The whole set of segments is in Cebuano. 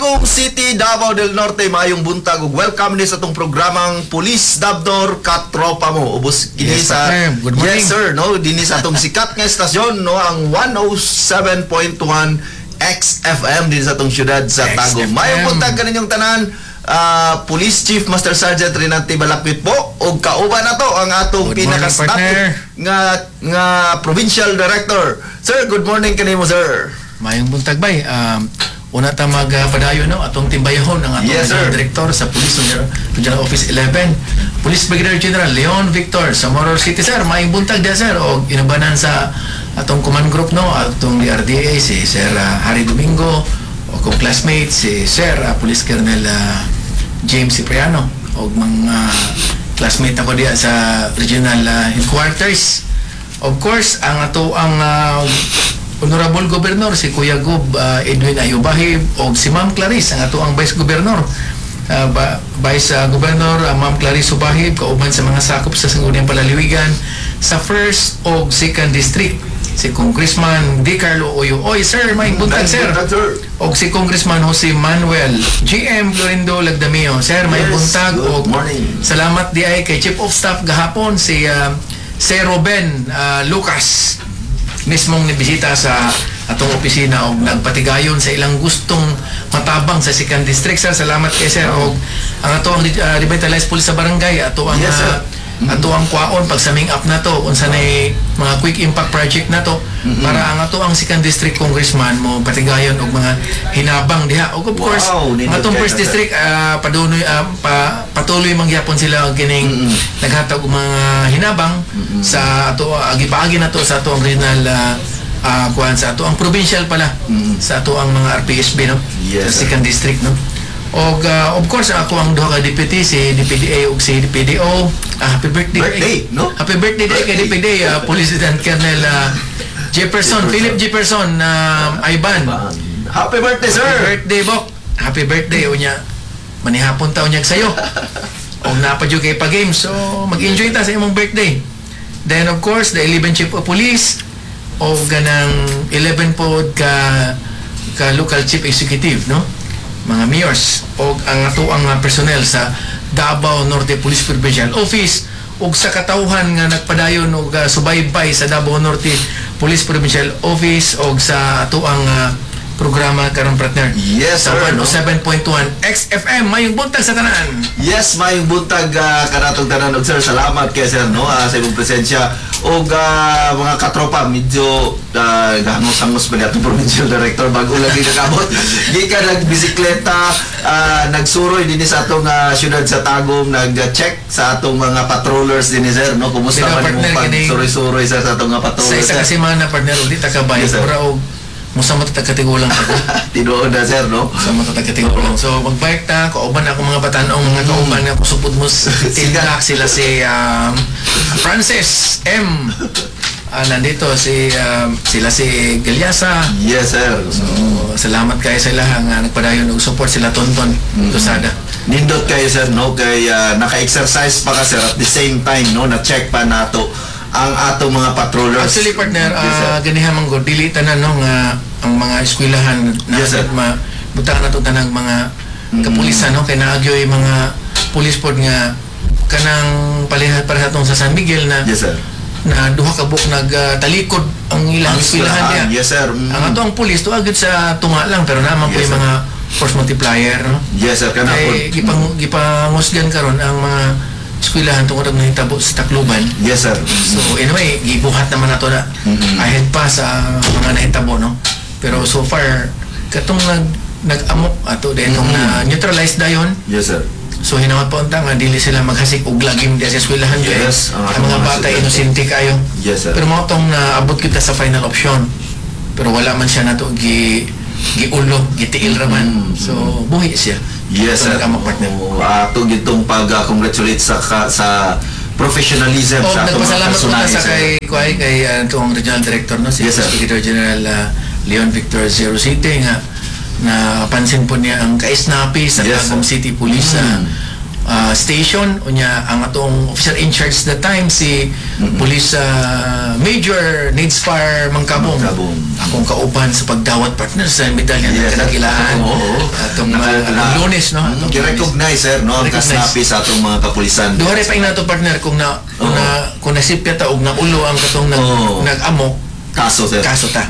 Tagum City, Davao del Norte, maayong buntag ug welcome ni sa atong programang Pulis Dabnor Katropa Mo. Ubos kini Yes, sa partner. Good morning. Yes sir, no, dinhi sa atong sikat nga estasyon, no, ang 107.1 XFM dinhi sa atong syudad sa Tagum. XFM. Maayong buntag kaninyong tanan. Police Chief Master Sergeant Renante Balakpit po ug kauban na to ang atong Good morning, pinaka-static partner. Nga nga provincial director. Sir, good morning kanimo, sir. Maayong buntag bay. Una ta magpadayon, no, atong timbayahon ang atong Yes, sir. Regional Director sa Police Regional Office 11, Police Brigadier General Leon Victor Zamora City, sir. Maayong buntag dia, sir, og inubanan sa atong command group, no, atong DRDA si Sir Harry Domingo o kong classmate si Sir Police Colonel James Cipriano og mga classmate ako diya sa regional headquarters. Of course, ang ato ang Honorable Governor si Kuya Gob Edwin Ayubahib og si Ma'am Clarice ang ato ang Vice Governor. Vice Governor Ma'am Clarice Subahib kauban sa mga sakop sa Sangguniang Palaliwigan sa first og second district, si Congressman D. Carlo Oyo. Oy sir, may buntag, sir. Buntag, sir. Og si Congressman Jose Manuel GM Florindo Lagdameo. Sir, may Yes, buntag good og morning. salamat di ay kay Chief of Staff gahapon si Sir Ruben Lucas mismong nibisita sa atong opisina og nagpatigayon sa ilang gustong matabang sa second district, sir. Salamat kay sir. Og ang ato ang revitalized police sa barangay, ato ang Yes, sir. Ato ang kwaon pag summing up na to unsa nay mga quick impact project na to para ang ato ang second district congressman mo patigayon og mga hinabang diha. Og of course, Wow, ang nindot atong kaayo first na, sir. district, padunoy patuloy mangyapon sila og kining naghatag og mga hinabang sa ato, gipaagi na to sa ato ang regional kuan, sa ato ang provincial pala, sa ato ang mga RPSB, no, Yes, sa sir. second district, no. Og of course ako ang duha ka deputy, si DPDA ug si DPDO. Ah, happy birthday. Birthday, no? Happy birthday day kay DPDA Police Lieutenant Colonel Jefferson, Jefferson. Philip Jefferson Ivan. Happy birthday, sir. Happy birthday, Bok. Happy birthday unya. Manihapon ta unyag sayo. Og naa pa jud kay pa game, so mag-enjoy ta sa imong birthday. Then of course, the 11 Chief of Police o ganang 11 pod ka ka local chief executive, no? Mga mayors o ang ato ang mga personnel sa Davao Norte Police Provincial Office ug sa katawhan nga nagpadayon og subaybay sa Davao Norte Police Provincial Office og sa ato ang programa karon, partner. Yes, sa sir, no? 107.1 XFM. Mayong buntag sa tanan. Yes, mayong buntag kanatong tanan og sir, salamat kay sir, no, sa imong presensya og mga katropa, medyo gahangos-hangos pa ni atong provincial director, bago lagi nakabot gikan nagbisikleta, nagsuroy dinhi sa atong syudad sa Tagum, nag-check sa atong mga patrollers dinhi, sir, no. Kumusta Sila, man imong partner, pagsuroy-suroy sir sa atong mga sa patrollers, isa sir? ka semana, partner, ulit ta kabay. Yes, sir. Mura og musamot ta katigulang ako. Tinuod na, sir, no. Sa mga taga-katigulang. So magbike ta, kauban ako mga batanong, mga kauban nga kusupod mo tilak sila si Francis M. Nandito si sila si Galyasa. Yes, sir. So salamat kayo sa ilaha nga nagpadayon og support, sila Tonton Tusada. Nindot kayo sir, no, kay naka-exercise pa ka sir, at the same time, no, na-check pa nato ang atong mga patrollers. Actually, partner, Yes, sir. Ganiha man gud dili tanan, no, nga ang mga eskwelahan na Yes, sir. ma butang nato tanang mga kapulisan, no, kay naagyoy mga pulis pod nga kanang palihat para sa atong sa San Miguel na Yes, sir. na duha ka buok nagtalikod ang ilang Ang eskwelahan diha. Yes, sir. Ang ato ang pulis tuwa gyud sa tunga lang, pero naman po Yes, yung sir. mga force multiplier, no. Yes, sir, kana po. Kay gipangusgan karon ang mga eskwelahan tungod og nahitabo sa Tacloban. Yes, sir. So anyway, gibuhat naman nato na ahead pa sa mga nahitabo, no. Pero so far katong nag-amok ato din tong na neutralize dayon. Yes, sir. So hinawat pa unta nga dili sila maghasik og lagim diya sa eskwelahan jud. Yes, ang ang atong mga mga bata estudyante. inosente kayo. Yes, sir. Pero mao tong naabot kita sa final option. Pero wala man siya nato giulo, gitiil ra man. So buhi siya. Yes, So, sir. nag-amok, partner. Oo, ato gitong pag-congratulate sa professionalism Oh, sa atong mga nagpasalamat po ta personahe, sa sir. kay kay kay atong regional director, no, si Yes, sir. Brigadier General Leon Victor Zero City nga napansin po niya ang kaisnapi sa Yes, Tagum sir. City Police sa station. Unya ang atong officer in charge that time si Police Major Nidspar Mangkabong. Mangkabong. Akong kauban sa pagdawat, partner, sa medalya ng kadakilaan. Atong Lunes, no? Atong Lunes. Gi-recognize, sir, no, ang Recognize. kasnapi sa atong mga kapulisan. Duha pa nato, partner, kung nasipya ta og naulo ang katong nag-amok, Kaso, sir. Kaso ta.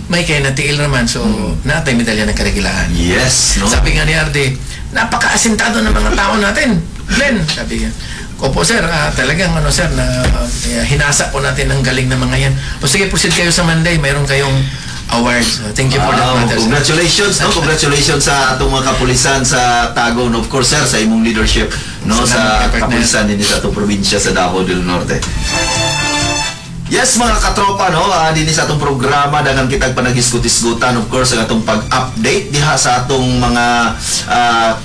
May kay natiil naman, so naatay medalya ng kadakilaan. Yes, no? Sabi nga ni Arde, "Napaka-asintado ng mga tao natin. Glenn," sabi niya. "Opo, sir, talagang ano, sir, na hinasa po natin ang galing ng mga yan. O sige, proceed kayo sa Monday, mayroon kayong awards." So, thank you for that matter, sir. Congratulations, no? Congratulations sa atong mga kapulisan sa Tagum. Of course, sir, sa imong leadership, no, Salamat, sa partner. Kapulisan din sa atong probinsya sa Davao del Norte. Yes, mga katropa, no, dinhi sa atong programa, daghan kitag panaghisgot-hisgutan, of course, ang atong pag-update diha sa atong mga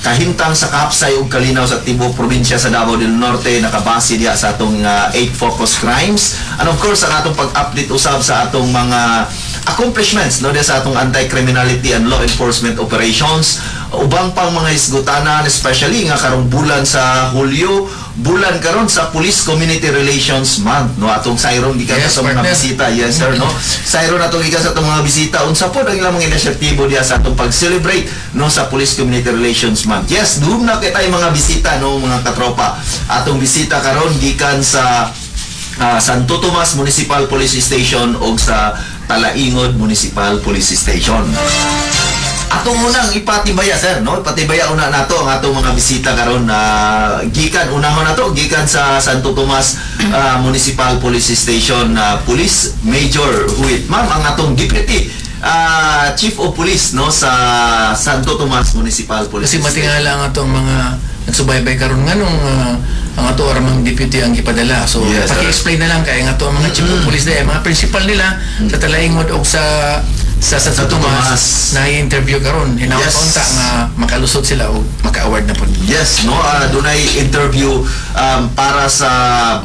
kahimtang sa kahapsay ug kalinaw sa tibuok probinsya sa Davao del Norte, nakabase diha sa atong eight focus crimes, and of course ang atong pag-update usab sa atong mga accomplishments, no, diha sa atong anti-criminality and law enforcement operations, ubang pang mga hisgutanan, especially nga karong bulan sa Hulyo, bulan karon sa Police Community Relations Month, no, atong sayron gikan sa mga partner. Bisita. Yes, sir, no, sayron atong gikan sa atong mga bisita unsa po ang ilang mga inisyatibo diha sa atong pag-celebrate, no, sa Police Community Relations Month. Yes, doon na kita yung mga bisita, no, mga katropa. Atong bisita karon gikan sa Santo Tomas Municipal Police Station o sa Talaingod Municipal Police Station. Atong unang ipatibaya, sir, no? Ipatibaya una nato ang atong mga bisita karon na gikan, unahon nato gikan sa Santo Tomas Municipal Police Station na Police Major Huit. Ma'am, ang atong Deputy Chief of Police, no, sa Santo Tomas Municipal Police Kasi Station. matingala ang atong mga nagsubaybay karon nganong ang ato aramang deputy ang gipadala. So Yes, sir. paki-explain na lang kay ang ato ang mga chief of police dahil mga principal nila sa Talaingod og sa Santo Santo Tomas Tomas. Na interview karon. Hinaot unta nga makalusot sila og maka-award na pud. Yes, no, dunay interview para sa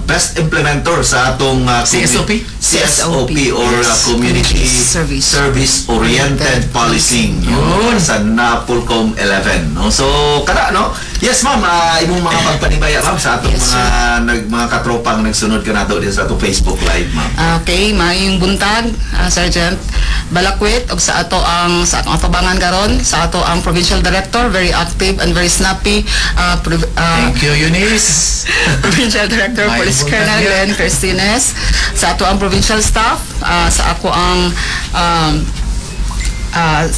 best implementer sa atong CSOP? CSOP or Community Service. Service Oriented Policing, no? Yun. Sa Napolcom 11, no. So kada, no. Yes, ma'am, imong mga pagpanibaya, ma'am, sa atong Yes, mga mga katropang nagsunod kanato din sa atong Facebook Live, ma'am. Okay, maayong buntag, Sergeant Balakwit, ug sa atong atubangan karon, sa ato ang Provincial Director, very active and very snappy, Thank you, Eunice. Provincial Director Maayong Police buntag Colonel niya. Glenn Cristines, sa ato ang provincial staff, sa ako ang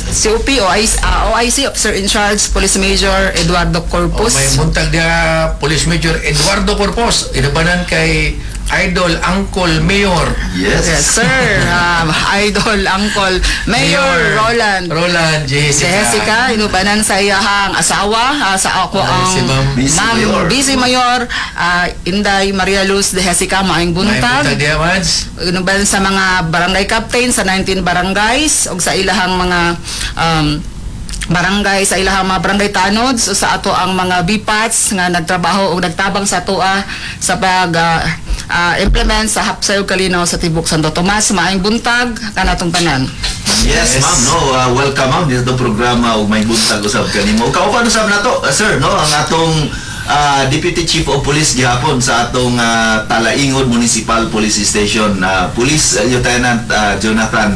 COP OIC, OIC Officer in Charge Police Major Eduardo O, Corpus. may buntag dia Police Major Eduardo Corpus. Inubanan kay Idol Uncle Mayor. Yes. Yes, sir. Idol, Uncle, Mayor Roland. Roland Jessica. Jessica, inubanan sa iyahang asawa, sa ako Ay, ang si Ma'am Busy Ma'am Mayor. Busy Mayor, Inday Maria Luz de Jessica, maayong May buntag. buntag dia, Mads. Inubanan sa mga barangay captain sa 19 barangays ug sa ilahang mga barangay, sa ilahang mga barangay tanods, o sa ato ang mga BPATs nga nagtrabaho o nagtabang sa atoa sa pag implement sa Hapsay ug Kalinaw sa tibok Santo Tomas. Maayong buntag kanatong tanan. Yes, Yes. ma'am, no. Welcome, ma'am, dito sa programa ug may buntag usab kanimo. Kauban usab nato, sir, no, ang atong Deputy Chief of Police gihapon sa atong Talaingod Municipal Police Station, Police Lieutenant Jonathan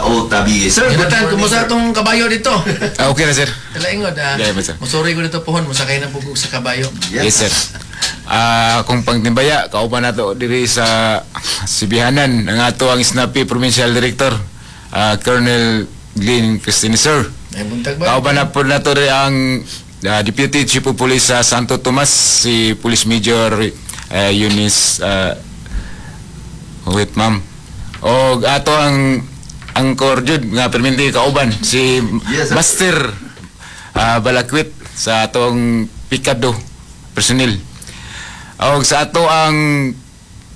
O. Tabigi. Sir, good Jonathan, morning, kumusta sir. atong kabayo dito? Ah, okay na, sir. Talaingod, ah. Yeah, sir. Musuri ko dito pohon, musakay na pugog sa kabayo. Yes, sir. Kung pangtimbaya, kauban nato diri sa Sibihanan, ang ato ang Snappy Provincial Director, Colonel Glenn Cristine, sir. May buntag ba? Kauban na po nato diri ang Deputy Chief of Police sa Santo Tomas, si Police Major Eunice, wait, ma'am. O ato ang angkor jud nga perminti kauban si Yes, sir. Master Balakwit sa atong Pikado personnel. Og sa ato ang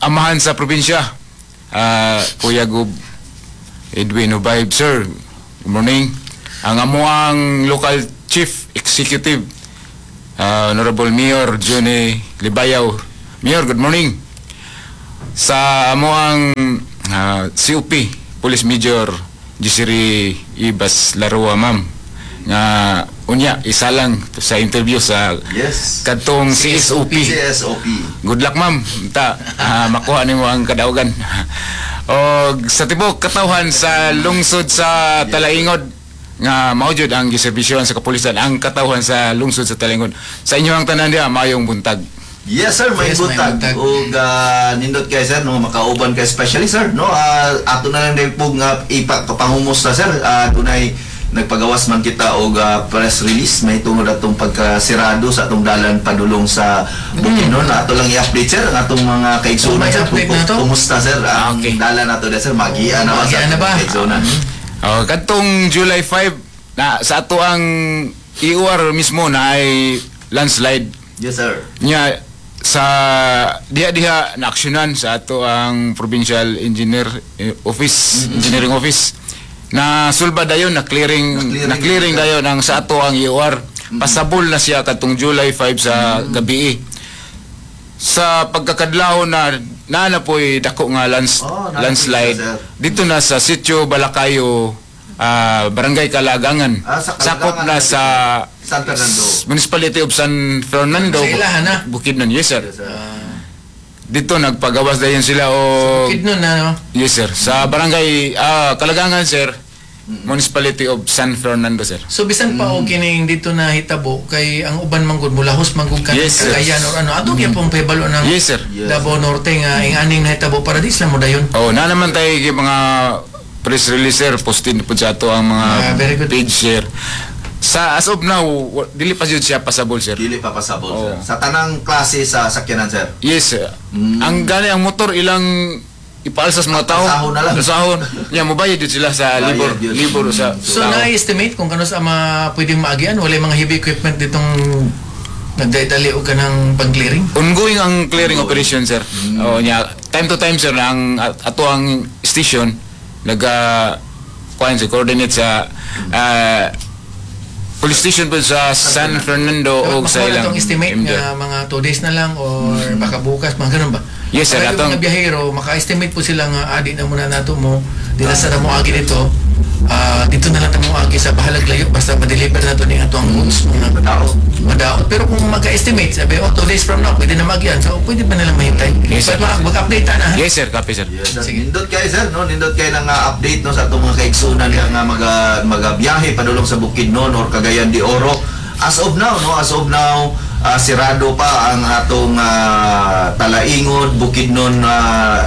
amahan sa probinsya, Kuya Gub Edwin Ubayb, sir. Good morning. Ang amuang local chief executive, Honorable Mayor Johnny Libayaw. Mayor, good morning. Sa amuang COP, Police Major Jisiri Ibas Larua, ma'am. Nga unya isalang sa interview sa kadtong CSOP. CSOP. Good luck, ma'am. Ta makuha nimo ang kadaugan. Og sa tibok katawhan sa lungsod sa Talaingod nga mao jud ang giserbisyohan sa kapulisan, ang katawhan sa lungsod sa Talaingod. Sa inyo ang tanan diha, maayong buntag. Yes sir, may Yes, may buntag. buntag. Ug nindot kay sir no, makauban kay especially sir no, ato na lang din po nga ipapangumusta sir. Dunay nagpagawas man kita og press release may tungod atong pagkasirado sa atong dalan padulong sa Bukidnon. Ato lang i-update sir ang atong mga kaigsuonan Oh, may sir. update na to? Kumusta sir ang dalan nato sir, magian na ba sa Magian na ba? atong kaigsuonan? Oh, kadtong July 5 na sa ato ang EOR mismo na ay landslide. Yes sir. Nya sa diha-diha na aksyonan sa ato ang provincial engineer office, engineering office, na sulba dayon na clearing, Na-clearing na clearing dayon ang sa ato ang EOR. Pasabol na siya kadtong July 5 sa gabi. Sa pagkakadlawon na naa na po'y dako nga Oh, naa na po'y landslide sir. dito na sa Sitio Balakayo, Barangay Kalagangan. Ah, sa Sakop Kalagangan na sa San Fernando. Municipality of San Fernando. Sa ilahan na. Bukidnon, yes sir. Yes sir. Dito nagpagawas dayon sila o Bukidnon na, no? Yes sir. Sa Barangay Kalagangan sir. Municipality of San Fernando sir. So bisan pa og kining dito na hitabo kay ang uban man gud mulahos man gud kan Yes, sir. Cagayan or ano ato gyud pong pahibalo ng Yes sir. Davao Norte nga ing aning nahitabo para di sila mo dayon. Oh, na naman tayo yung mga press release sir, postin po sa ato ang mga Ah, very good. page sir. Sa as of now, dili pa jud siya pasable sir. Dili pa pasabol sir. Oh. Sa tanang klase sa sakyanan sir. Yes sir. Ang gani ang motor ilang ipaalsa sa mga tao. Alsahon na lang. Alsahon. Ya mobayad jud sila sa Bayad libor, yun. libor sa So tao. na-estimate kung kano sa mga pwedeng maagian, wala yung mga heavy equipment ditong nagdali og kanang pag-clearing. Ongoing ang clearing operation sir. Oh, nya time to time sir na ang ato ang station naga kuan sa coordinate sa police station po sa San Fernando o sa Makuha na ilang tong estimate MD. nga mga 2 days na lang or baka bukas, mga ganun ba? Yes, sir. Para yung Atong- mga biyahero, maka-estimate po sila nga, di na muna nato mo, di na sa mo agi dito, dito na lang ta mo agi sa bahalag layo, basta ma-deliver na to ni ato ang goods, mga Madaot. madaot. Pero kung maka-estimate, sabi, oh, 2 days from now, pwede na magian. So, pwede pa nilang mahintay. Yes, sir. But mag-update ta na. ha? Yes sir, copy sir. Yes, sir. Sige. Nindot kayo sir, no? Nindot kayo ng update no sa atong mga kaigsunan nga magabiyahe padulong sa Bukidnon or Cagayan de Oro. As of now, no, as of now, sirado pa ang atong Talaingod Bukidnon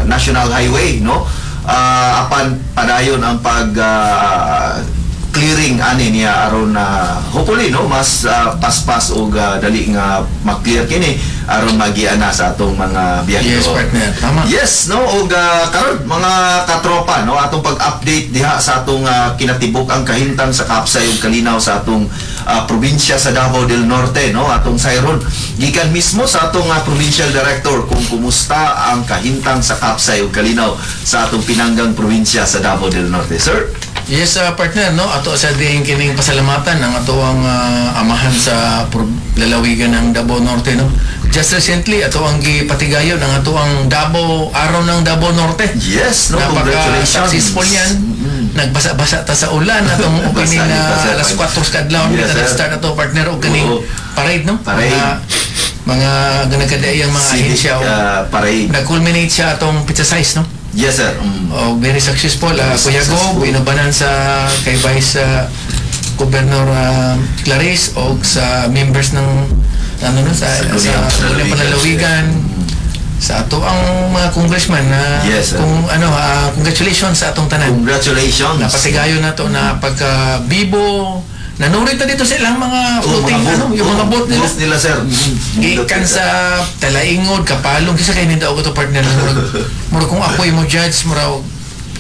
National Highway, no? Apan padayon ang pag clearing ani niya aron na hopefully no mas paspas og dali nga ma-clear kini aron magian na sa atong mga biyahero. Yes, partner. Tama. Yes, no, og karon mga katropa no atong pag-update diha sa atong kinatibuk ang kahimtang sa Kapsay ug Kalinaw sa atong probinsya sa Davao del Norte no atong sayron gikan mismo sa atong provincial director kung kumusta ang kahimtang sa Kapsay ug Kalinaw sa atong pinanggang probinsya sa Davao del Norte. Sir. Yes, partner, no? Ato sa diin kining pasalamatan ang ato ang amahan sa lalawigan ng Davao Norte, no? Just recently, ato ang gipatigayon ang ato ang Davao, Araw ng Davao Norte. Yes, no, congratulations. Napaka-successful yan. Nagbasa-basa ta sa ulan atong opening Basa na kita, sir. alas 4 sa kadlawon Yes, kita sir. nag-start ato partner og kaning Oo. parade, no? Parade. Mga nagkadaiyang mga Civic, ahensya o parade. nag-culminate siya atong pizza size, no? Yes, sir. Oh, very successful. Kuya Go, Successful. inubanan sa kay Vice Governor Clarice o sa members ng ano no sa Sa sa Sangguniang Sangguniang Panlalawigan. Panlalawigan sa ato ang mga congressman na Yes, sir. kung ano congratulations sa atong tanan. Congratulations. Napatigayon na to na pagka bibo nanurit na dito sa ilang mga Oh, floating mga ano yung mga boat nila. Boat nila, sir. Gikan sa Talaingod, Kapalong, kasi kay ninda ako to partner. Murag, murag kung ako mo judge, murag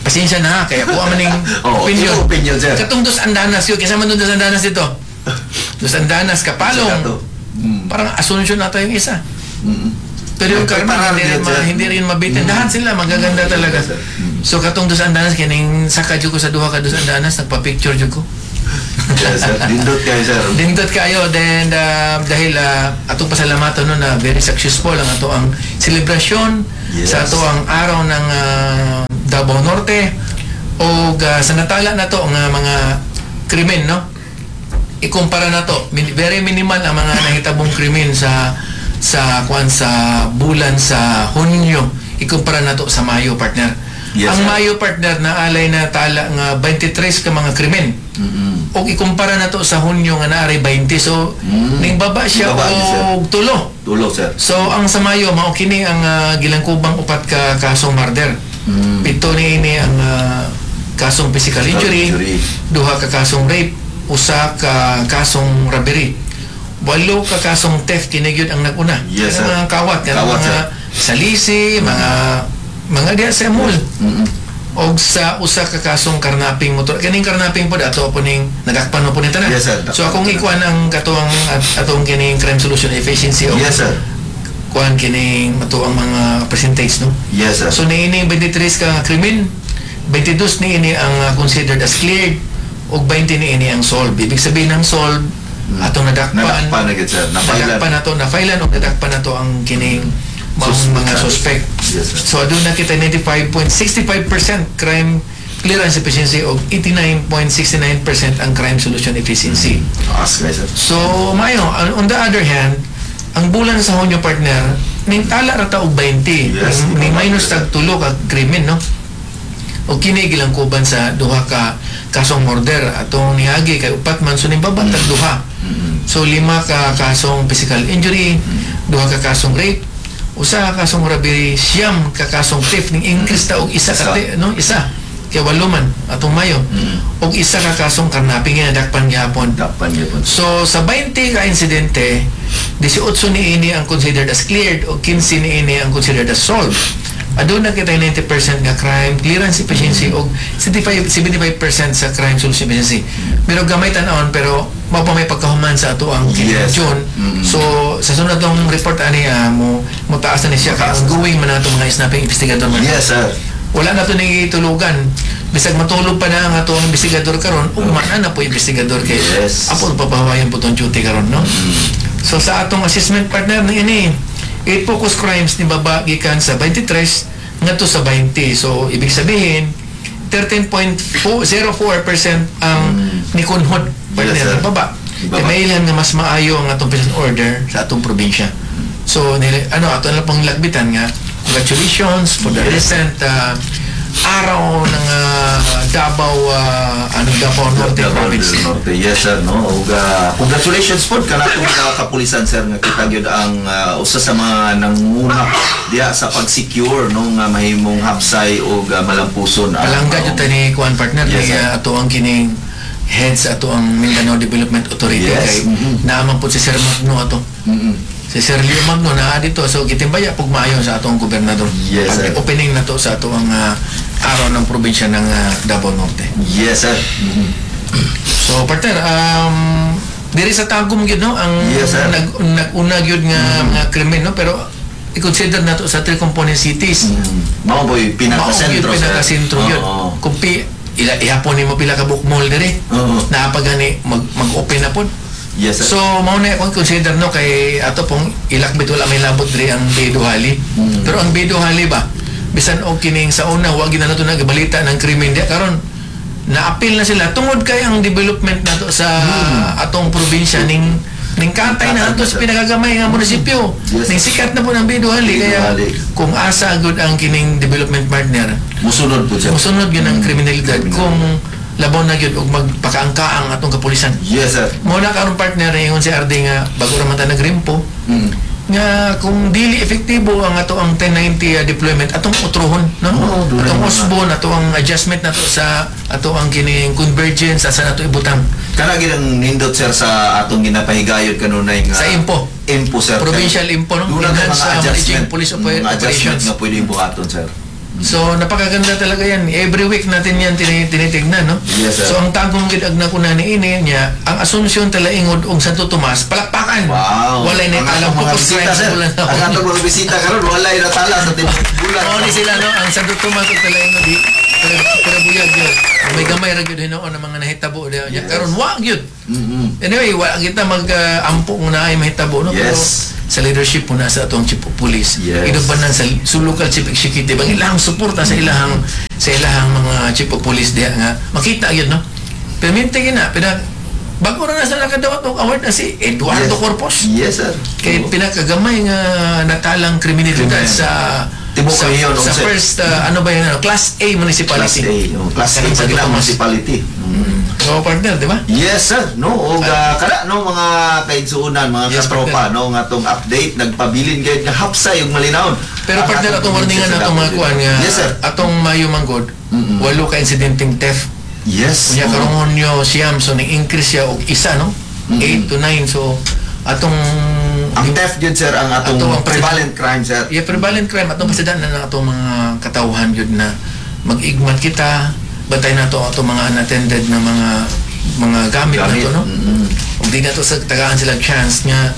pasensya na ha, kaya kuha man ning Oh, opinion. imo opinion, sir. Katong Dos Andanas yun, kaysa man doon Dos Andanas dito. Dos Andanas, Kapalong. Parang Asuncion nata yung isa. Pero yung Ay, Carmen, parang hindi rin, yun, sir. hindi rin mabitin. Dahan sila, magaganda talaga. Sir. So katong Dos Andanas, kining saka jud ko sa duha ka Dos Andanas, nagpa-picture jud ko. Yes, sir. Nindot kayo, sir. Dindot kayo then dahil atong pasalamatan no na very successful ang ato ang selebrasyon sa ato ang araw ng Davao Norte o sa natala na to nga mga krimen no. ikumpara na to, very minimal ang mga nahitabong krimen sa kuan sa bulan sa Hunyo. Ikumpara na to sa Mayo, partner. Yes, Ang sir. Mayo, partner, na alay na tala nga 23 ka mga krimen. Og ikumpara na to sa Hunyo nga naaray 20. So ning baba siya Baba niya, sir. og tulo. Tulo, sir. So ang sa Mayo mao kini ang gilangkubang upat ka kasong murder. 7 ni ini ang kasong physical Physical injury, injury. 2 ka kasong rape, 1 ka kasong robbery. 8 ka kasong theft, kini gyud ang naguna. Yes, Kanang sir. mga kawat, kanang Kawat, mga sir. salisi, mga diya sa mall. Og sa usa ka kasong karnaping motor. Kaning karnaping pod ato po ning nadakpan mo po ni tanan. Yes, sir. So akong ikuan ang katuang atong kining crime solution efficiency og Yes, sir. kuan kining ato ang mga percentage, no. Yes, sir. So niini 23 ka krimen, 22 niini ang considered as cleared ug 20 niini ang solved. Ibig sabihin ng solved, atong nadakpan. Nadakpan na gid, sir. Na-filean. Nadakpan nato, na-filean ug nadakpan nato ang kining maong Suspect. mga suspect. Yes, sir. So aduna kita 95.65% crime clearance efficiency og 89.69% ang crime solution efficiency. Taas kay, sir. So, mayo, on the other hand, ang bulan sa Hunyo, partner, ning tala ra ta og 20. Yes. Ning minus tag tulo ka krimen, no? O kini gilangkuban sa duha ka kasong murder atong niagi kay upat man, so ning baba tag duha. So 5 ka kasong physical injury, 2 ka kasong rape, 1 ka kasong robbery, 9 ka kasong theft, ning increase ta og isa ka Isa. no, isa. Kay 8 man atong Mayo. Og 1 ka kasong karnaping nga nadakpan gihapon. Dakpan gyud. So sa 20 ka insidente, 18 ni ini ang considered as cleared o 15 ni ini ang considered as solved. Aduna kita 90% nga crime clearance efficiency o 75% sa crime solution efficiency. Pero gamay tan-awon, pero mao pa may pagkahuman sa ato ang June. So sa sunod tong report ani mo mo taas na ni siya kay Motaas na. ongoing man ato mga snapping investigador man. Yes, sir. Wala na to ni tulugan. Bisag matulog pa na ang ato ang investigador karon, ugma na po investigador kay apo papahawayan po tong duty karon, no? So sa atong assessment, partner, ni ini 8 focus crimes ni baba gikan sa 23 ngadto sa 20. So ibig sabihin 13.04% ang nikunhod, partner, Yes, sir. baba. Baba. Kay mailhan nga mas maayo ang atong peace and order sa atong probinsya. So nila, ano ato na pong lagbitan nga congratulations for the recent araw ng Davao ano Davao Norte Davao Province. del Norte. Yes, sir, no. Ug congratulations po kanatong mga kapulisan, sir, nga kita gyud ang usa sa mga nanguna diha sa pag-secure no nga mahimong hapsay ug malampuson ang Palangga jud ta ni kuan, partner, Yes, ni sir. ato ang kining head sa ato ang Mindanao Development Authority kay naaman po si Sir Magno ato. Si Sir Leo Magno naa dito. So gitimbaya pug maayo sa atong gobernador. Yes, Pag sir. opening na to sa ato ang araw ng probinsya ng Davao Norte. Yes, sir. So partner, diri sa Tagum gyud no ang Yes, sir. Nag-una gyud nga mga krimen, no, pero i-consider nato sa three component cities. Mao boy Mao gyud pinaka-sentro, sir. pinaka-sentro gyud. Kung pi ila ihapon nimo pila ka book mall diri. Naa pa gani mag-open na pod. Yes, sir. So mao na akong consider no kay ato pong ilakbit wala may labot diri ang Beduhali. Pero ang Beduhali ba bisan og kining sa una wa gid na nato nagabalita ng krimen diya, karon naapil na sila tungod kay ang development nato sa atong probinsya ning katay na ato sa pinakagamay nga munisipyo. Yes. Ning sikat na po ng Beduhali kaya Beduhali. Kung asa gud ang kining development, partner, Musunod po, sir. musunod gyud ang kriminalidad kung labaw na gyud og magpakaangkaang atong kapulisan. Yes, sir. Mo na karon, partner, ingon si RD nga bago ra man ta nagrimpo nga kung dili epektibo ang ato ang 1090 deployment atong utrohon, no, Oo, doon atong na mga- usbon ato ang adjustment nato sa ato ang kining convergence asa nato ibutang. Kana gid ang nindot, sir, sa atong ginapahigayon kanunay nga Sa IMPO. IMPO, sir. Provincial IMPO, no? Doon na Enhanced, mga managing adjustment, police mga adjustment operations. nga pwede buhaton, sir. So napakaganda talaga yan. Every week natin yan tinitignan, no? Yes, sir. So ang Tagum gid ag nakuna ni ini niya, ang Asuncion, Talaingod ug Santo Tomas palakpakan. Wow. Walay na Ang talang atong mga focus bisita, crime sa sir. bulan na. Ang atong mga bisita karon walay natala sa tibuok bulan. Mao ni sila, no, ang Santo Tomas ug Talaingod di pero pero buyag yun. May gamay ra gyud hinuon ang mga nahitabo diha. Yes. Karon wa gyud. Anyway, wa kita mag-ampo kung naay mahitabo, no? Pero sa leadership po na sa atong chief of police. Inubanan sa local chief executive ang ilang suporta sa ilahang mga chief of police diha nga makita gyud, no. Pero minti gina pina Bago ra na sa nakadawat og award na si Eduardo Corpus. Yes, sir. Kay pinakagamay nga natalang kriminalidad Krimen. sa Tibok sa, rehiyon, sa onse. first ano ba yun, ano, Class A Class municipality. A. Oh, Class A Kanang sa Santo Tomas. municipality. So partner, di ba? Yes, sir. No, og kada no mga kaigsuonan, mga katropa, no, nga tong update nagpabilin gayud nga hapsay ug malinawon. Pero Ang partner, atong warningan sa atong mga Davao kuan nga Yes, sir. atong Mayo manggod, walo ka insidenteng theft. Unya Oo. karong Hunyo siyam, so ning-increase siya og isa, no? 8 to 9, so atong Ang theft yun, sir, ang atong Ato ang prevalent crime, sir. Yeah, prevalent crime atong pasidaan na atong mga katawhan yun na mag-igmat kita, bantay nato atong mga unattended na mga mga gamit, Gamit. nato, no? Ug di nato sa tagaan sila chance nga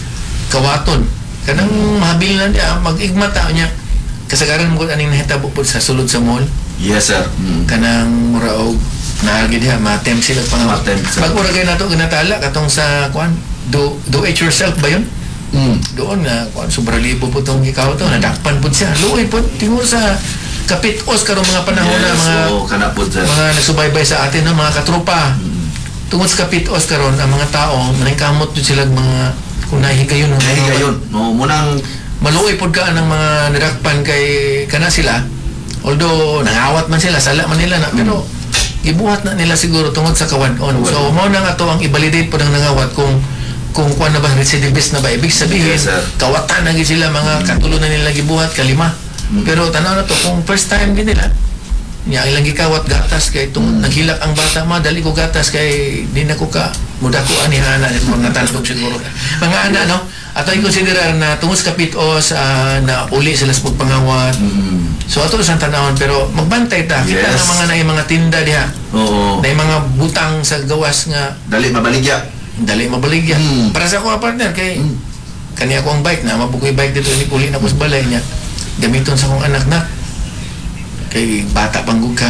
kawaton. Kanang mahabil na niya, mag-igmat ta niya. Kasagaran mo aning nahitabo pod sa sulod sa mall, Yes, sir. Kanang mura og naagi diha ma-attempt sila pangawat. Ma-attempt, sir. Bag-o ra kay nato ginatala katong sa kuan, do it yourself ba yun? Doon nga kuan, sobra libo po tong gikaw to, nadakpan po siya, luoy po tingog sa kapitos karong mga panahon na Yes, mga oo, kana po, sir. mga nagsubaybay sa atin, no, mga katropa, tungod sa kapitos karon ang mga tao maningkamot jud sila mga kung nahigayon ng mga Nahigayon. No, munang maluoy pod ka ang mga nadakpan kay kana sila, although nangawat man sila, sala man nila na, pero gibuhat na nila siguro tungod sa kawan-on. So mao na nga to ang i-validate pod ang nangawat kung kuan na ba, recidivist na ba, ibig sabihin Yes, sir. kawatan na gid sila, mga katulo na nila gibuhat, kalima. Pero tanaw na to kung first time gid nila niya, ilang gikawat gatas kay tungod naghilak ang bata, ma, dali ko gatas kay di na ko ka mudako ani ana mo natandog siguro mga ana, no? Ato i-considerar na tungod sa kapitos, na uli sila sa pagpangawat. So ato sa tanawon, pero magbantay ta kita nga mga naay mga tinda diha, naay mga butang sa gawas nga Dali mabaligya. Dali mabaligya. Para sa ako, partner, kay kani ako ang bike na mabukoy bike dito ni uli na ko sa balay niya, gamiton sa akong anak na kay bata panggug ka.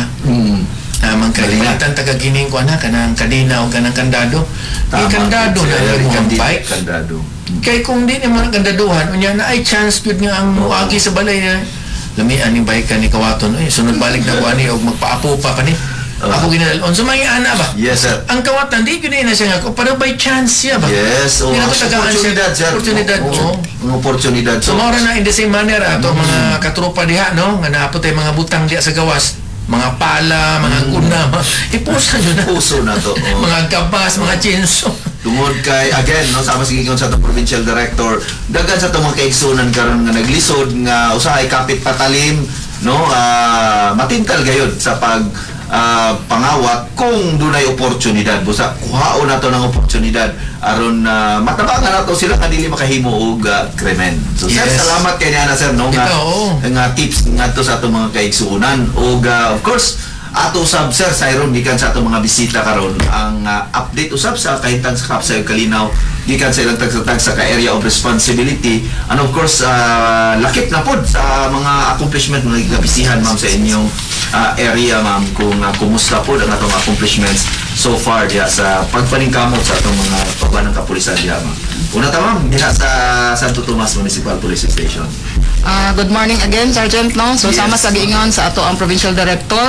Namang kay Galing na. palitan taga gining ko anak kanang kadena o kanang kandado. Kay kandado na sir. ang imong bike. Kandado. Kay kung di nimo ang kandaduhan, unya na ay chance gyud nga ang muagi sa balay na lamian ni bike ka ni kawaton, ay sunod balik na ko ani og magpaapo pa kani. Ako ginalon so mga ana ba. Yes, sir. Ang kawatan di gyud na siya nga ko pero by chance siya ba. Yes, Di oh, na ko tagaan siya. oportunidad, sir. Oportunidad, Oo, oo. ang oportunidad. So, So, mao ra na in the same manner ato mga katropa diha, no, nga naapot ay mga butang diha sa gawas, mga pala, mga kuna, mga, ipusa nyo na. Puso na to. Oo. Mga gabas, mga chinso. Tungod kay again, no, sama sige sa atong provincial director, daghan sa atong mga kaigsunan karon nga naglisod nga usahay kapit patalim, no, matintal gayud sa pag pangawat kung dunay oportunidad. Busa kuhaon nato ng oportunidad aron matabangan nato sila nga dili makahimo og krimen. So sir, salamat kay niana, sir, no, nga Ito, oo. nga tips ngadto sa atong mga kaigsuonan ug of course ato usab, sir, sayron gikan sa atong mga bisita karon ang update usab sa kahimtang sa Hapsay ug Kalinaw gikan sa ilang tagsa-tagsa ka area of responsibility and of course lakip na pod sa mga accomplishment, mga gabisihan, ma'am, sa inyong area, ma'am, kung kumusta pod ang atong accomplishments so far diha sa pagpaningkamot sa atong mga pabanang kapulisan diha, ma'am. Una ta, ma'am, diha sa Santo Tomas Municipal Police Station. Good morning again, Sergeant, no? So, sama sa giingon sa ato ang provincial director,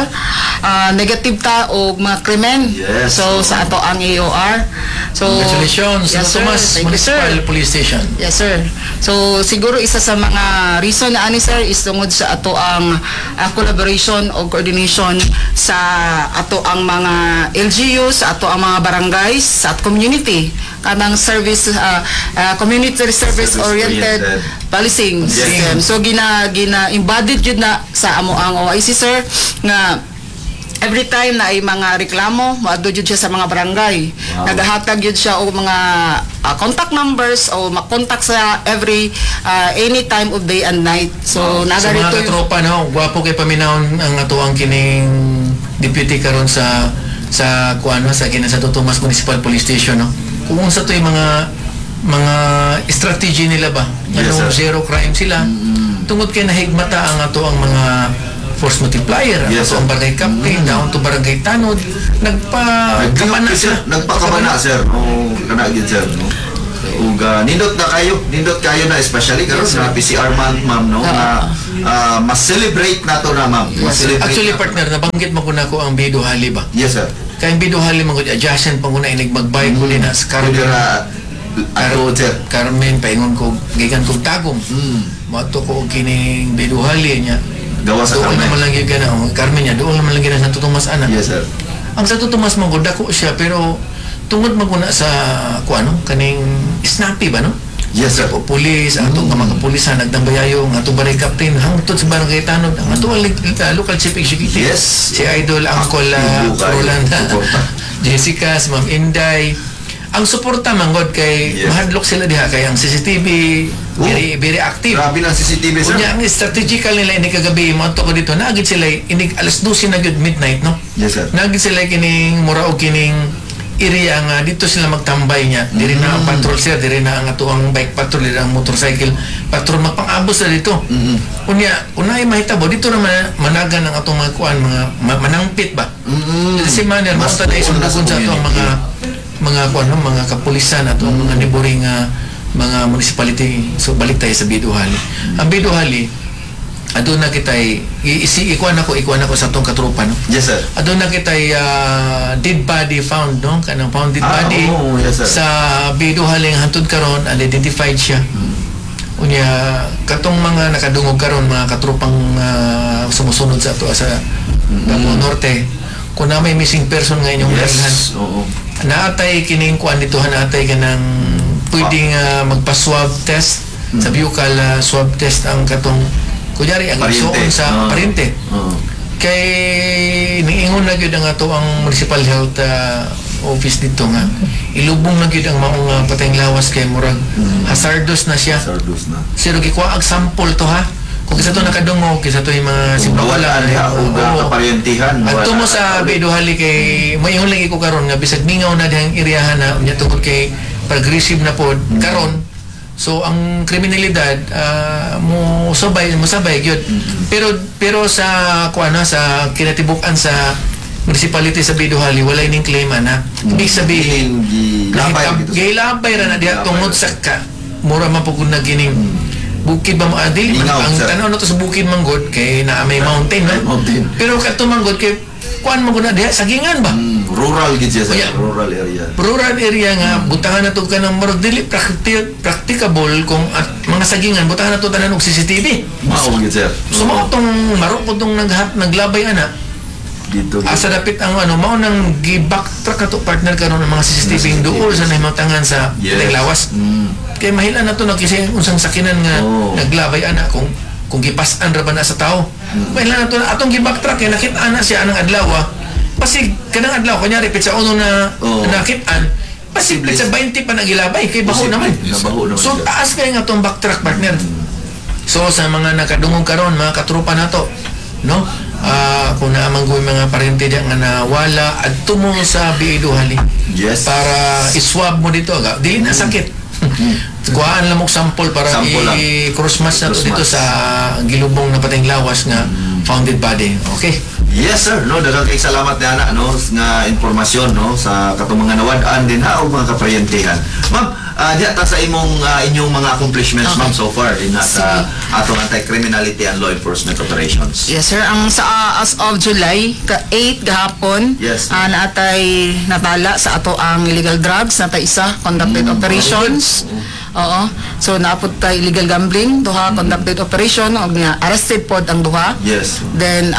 negative ta og mga krimen. So, sa ato ang AOR. So, Congratulations, yes, Santo sir. Tomas Thank you, sir. Municipal Police Station. Yes, sir. So, siguro isa sa mga reason na ani, sir, is tungod sa ato ang collaboration o coordination sa ato ang mga LGUs, sa ato ang mga barangays, sa at community. Kanang service, community service oriented Service-oriented. policing system. So gina gina embodied jud na sa amo ang OIC, sir, nga every time na ay mga reklamo, moadto jud siya sa mga barangay. Nagahatag jud siya og mga contact numbers o makontak sa every any time of day and night. So Sa naga mga rito katropa, no, gwapo kay paminawon ang atuang kining deputy karon sa kuano sa kina sa Tomas Municipal Police Station, no. Kung unsa to yung mga strategy nila ba, Yes, anong sir. zero crime sila tungod kay nahigmata ang ato ang mga force multiplier, ang ato Yes, sir. ang barangay captain down to barangay tanod, nagpa Nagkabana kabana sir, sila. nagpakabana, sir. Oo, kana gyud, sir, no. Ug nindot na kayo, nindot kayo na especially karon sa PCR month, ma'am, no, nga mas celebrate nato na, ma'am. Mas celebrate Actually, nato. partner, nabanggit mo ko na ko ang Bido Hali ba? Yes, sir. Kay ang B. Dujali man gud adjacent pa guna inig magbike ko din sa Carmen. Pwede ra ato, sir. Carmen paingon ko gikan kog Tagum. Moadto ko og kining B. Dujali niya. Gawa sa Doon Carmen. naman lang gyud kana, oh, Carmen niya, doon naman lang gyud sa Santo Tomas ana. Yes, sir. Ang Santo Tomas man gud dako siya, pero tungod man guna sa kuano kaning snappy ba, no? Yes, sir. O pulis, ang atong mga kapulisan, nagdambayayo, ang atong barangay captain, hangtod sa barangay tanod, ang atong local chief executive. Si Idol Uncle Aktibo kayo. Roland, Suporta. Jessica, si Ma'am Inday. Ang suporta manggod kay mahadlok sila diha kay ang CCTV very very active. Grabe lang CCTV, sir. Unya ang strategical nila ini kagabi moadto ko dito, naagid sila inig alas 12 na gyud midnight, no? Yes, sir. Naagid sila kining mura og kining area nga dito sila magtambay niya. Diri na ang patrol, sir, diri na ang atuang bike patrol, diri ang motorcycle patrol, magpang-abos na dito. Unya, unay mahitabo dito na managan ang atong mga kuan, mga manangpit ba. Si manner Mas mo ta na tuon na sa isunugon sa atong mga community. mga kuan, no, mga kapulisan ato ang mga neighboring mga municipality. So balik tayo sa B. Dujali. Ang B. Dujali, aduna kitay isi ikuan ako sa atong katropa, no? Yes, sir. Aduna kitay dead body found, no, kanang found dead body Oo, yes, sir. sa B. Dujali nga hantod karon unidentified siya. Unya katong mga nakadungog karon, mga katropang sumusunod sa ato sa Davao Norte, kung na may missing person nga inyong nailhan, naatay kining kuan dito, naatay kanang pwedeng magpa-swab test sa buccal swab test ang katong kunyari ang Pariente. isuon sa pariente kay niingon na gyud ang ato ang municipal health office dito nga ilubong na gyud ang maong patayng lawas kay murag hazardous na siya. Sardus na. Pero gikuha ang sample to ha, kung kisa to nakadungog, kisa to yung mga Kung nawala diha og kaparyentihan. Adto mo wala sa na. B. Dujali kay maingon lagi ko karon nga bisag mingaw na dihang iriyahan na unya tungod kay progressive na pod karon. So ang kriminalidad mo sabay mo sabay gyud. Pero pero sa kuan na sa kinatibuk-an sa municipality sa B. Dujali, wala ning claim ana. Ibig sabihin Gilabay dito. Gilabay ra na diha Gilabay tungod ra. sa ka mura man pud na gining bukid ba mo adili Mingaw, ang sir. tan-aw na to sa bukid manggod kay naa may mountain, no? May mountain. Pero kadto manggod kay kuan man gud na diha, sagingan ba? Rural gid siya, sir. Unya. Rural area. Rural area nga butangan na to kanang murag dili practicable kung at mga sagingan butangan na to tanan og CCTV. Mao gid, sir. So mao tong maro ko tong naglabay ana. Dito. Asa dapit ang ano mao nang gi-backtrack ato partner karon ang mga CCTV duol sa nahimatangan sa yes. Lawas. Kay mahila na to nagkisi unsang sakinan nga naglabay ana kung gipas-an ra ba na sa tao. Mahila na to na atong gi-backtrack kay nakit-an na siya anang adlaw. Pasig kanang adlaw kunyari pitsa uno na nakit-an, pasig Posible. pitsa 20 pa nagilabay kay baho Posible. naman. Nabaho naman So siya. taas kay nga atong backtrack, partner. So sa mga nakadungog karon, mga katropa nato, no? Kung naamang ko mga parente diyan nga nawala, adto mo sa B. Dujali para iswab mo dito aga. Dili na sakit. Kuhaan lang mo sample para Sample lang. I-cross match na to Cross dito match. sa gilubong na patayng lawas nga founded body. Okay. Yes, sir, no, daghang kay salamat ni ana, no, nga impormasyon, no, sa katong mga nawad-an din ha og mga kaparyentihan. Ma'am, diha ta sa imong inyong mga accomplishments, ma'am, so far din ha sa atong anti-criminality and law enforcement operations. Yes, sir. Ang sa as of July ka 8 gahapon, naatay natala sa ato ang illegal drugs, natay isa conducted operations. Oo. So naapod tay illegal gambling, duha conducted operation og nga arrested pod ang duha. Then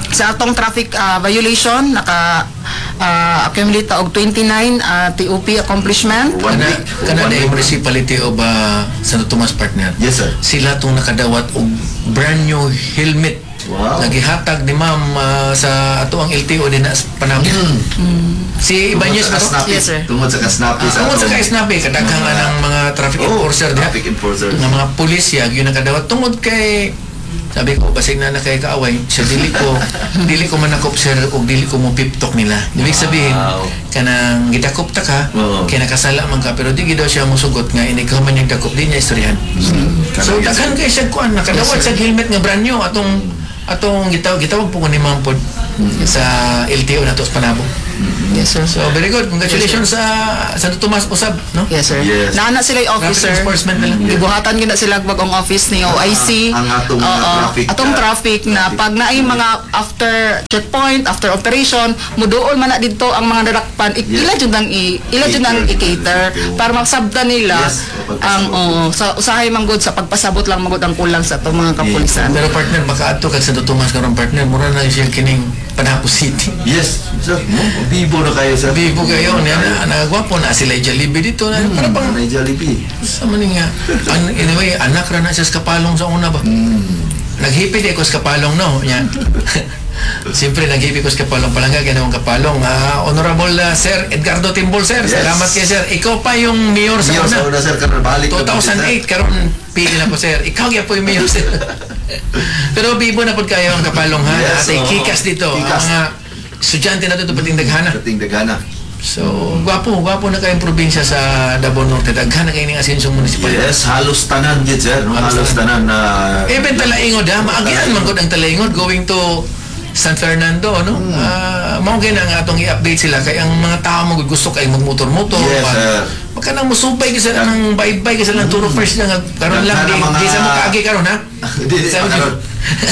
sa atong traffic violation naka accumulate ta og 29 TOP accomplishment. One Kana week. kana One na week. municipality of Santo Tomas, partner. Yes, sir. Sila tong nakadawat og brand new helmet. Nagihatag ni ma'am sa ato ang LTO din na sa Panabo. Si Ibanez ba to? Tungod sa Yes, sir. Tungod sa kasnapi sa Tungod sa atong kaisnapi, kadaghan nga ng mga traffic enforcer diha. Traffic enforcers. Nga mga pulis ya, yun nakadawat. Tungod kay sabi ko, basig na na kay kaaway, siya dili ko manakop, sir, og dili ko mo piptok nila. Ibig sabihin, kanang gidakop ta ka, kay nakasala man ka, pero di gid daw siya musugot nga inig ka man yung dakop, di niya istoryahan. So Kanang daghan kay siya kuan nakadawat sa helmet nga brand new atong atong gitawag gitawag po ko ni Ma'am pod sa LTO nato sa Panabo. Yes, sir. So very good. Congratulations sa Santo Tomas usab, no? Yes, sir. Yes. Naa na sila yung officer. Traffic enforcement na lang. Gibuhatan gyud na sila bagong office ni OIC. Ang atong mga Oo. traffic, Atong traffic na traffic. pag naay mga after checkpoint, after operation, muduol man na didto ang mga nadakpan. Ila jud ang ila jud ang i-cater para masabtan nila Yes, ang, oo, sa usahay man gud sa pagpasabot lang man gud ang kulang sa atong mga kapulisan. Pero partner, makaadto kag Santo Tomas karon, partner, mura na siya kining Panabo City. Yes, sir. No? Bibo na kayo, sir. Bibo kayo, niya na nagwapo na sila Jollibee dito na para pang Nanay Jollibee. sa man nga. Anyway, anak ra na siya sa Kapalong sa una ba. Naghipi di ko sa Kapalong, no. Nya. Siyempre naghipi ko sa Kapalong, palangga ginawang Kapalong. Honorable Sir Edgardo Timbol, sir. Yes. Salamat kay sir. Ikaw pa yung mayor sa Mayor una. sa una, sir. Karon balik na po, sir. 2008 karon pili na po, sir. Ikaw gyud po yung mayor, sir. Pero bibo na pud kayo ang Kapalong, ha. Yes, Atay oo. kikas dito. Ang Kikas. mga estudyante na dito pating daghana. Dating dagana. So, gwapo, gwapo na kayong probinsya sa Davao Norte. Daghan na kayo ng Asenso Municipal. Yes, halos tanan gid, sir. No? Halos Halos tanan na Even Talaingod, ha? Maagian man gud ang Talaingod going to San Fernando, no? Ah, mao gyud ang atong i-update sila kay ang mga tao mo gusto kay magmotor-motor. Yes, sir. Maka nang musubay kasi nang baybay kasi lang turo first lang karon lang Daghan di, ang mga- di sa mo kaagi karon, ha. Di, di, Sa mo- karon.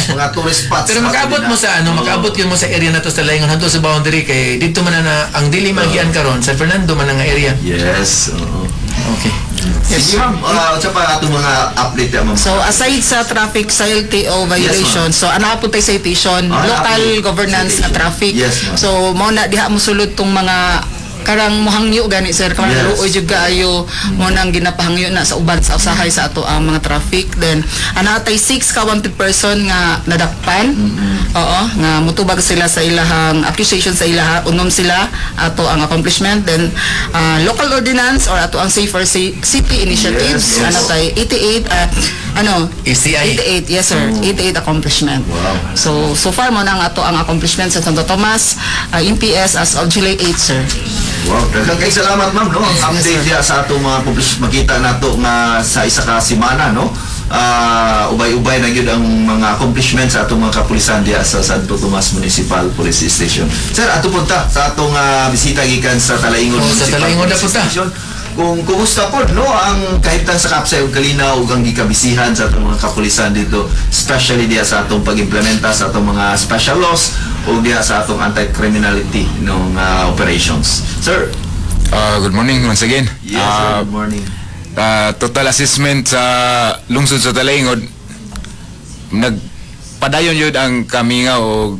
Mga tourist spots. Pero makaabot mo sa ano, Oo. makaabot yun mo sa area na to sa Laingon hanto sa boundary kay dito man na ang dili magian karon sa Fernando man ang area. Yes. Oo. Okay. Sige, ma'am. Unsa pa atong mga update ya, ma'am? So aside sa traffic sa LTO violation, so ana po tay citation, Ah, local naa po governance na citation. traffic. Yes, ma'am. So mao na diha mo sulod tong mga karang mohangyo gani, sir, karang luoy jud kaayo mo nang ginapahangyo na sa uban sa usahay sa ato ang mga traffic. Then ana tay 6 ka wanted person nga nadakpan. Oo, nga mutubag sila sa ilahang accusation sa ilaha, unom sila ato ang accomplishment. Then local ordinance or ato ang Safer City initiatives, Yes. ana tay 88, ano, ACI. 88, yes sir, 88 accomplishment. Wow. So, so far mo na ang ato ang accomplishment sa Santo Tomas, MPS as of July 8, sir. Wow, daghang kay salamat, ma'am, no. Ang update diya sa atong mga publish makita nato nga sa isa ka semana, no. Ubay-ubay na gyud ang mga accomplishments sa atong mga kapulisan diya sa Santo Tomas Municipal Police Station. Sir, ato punta sa atong bisita gikan sa Talaingod Oh, sa Municipal Talaingod na Police punta. Station. Kung kumusta po, no, ang kahimtang sa Kapsay ug Kalinaw ug ang gikabisihan sa atong mga kapulisan dito, especially diya sa atong pag-implementa sa atong mga special laws ug diya sa atong anti-criminality nung operations. Sir, Good morning once again. Yes, sir, good morning. Total assessment sa lungsod sa Talaingod, nagpadayon yun ang kamingaw og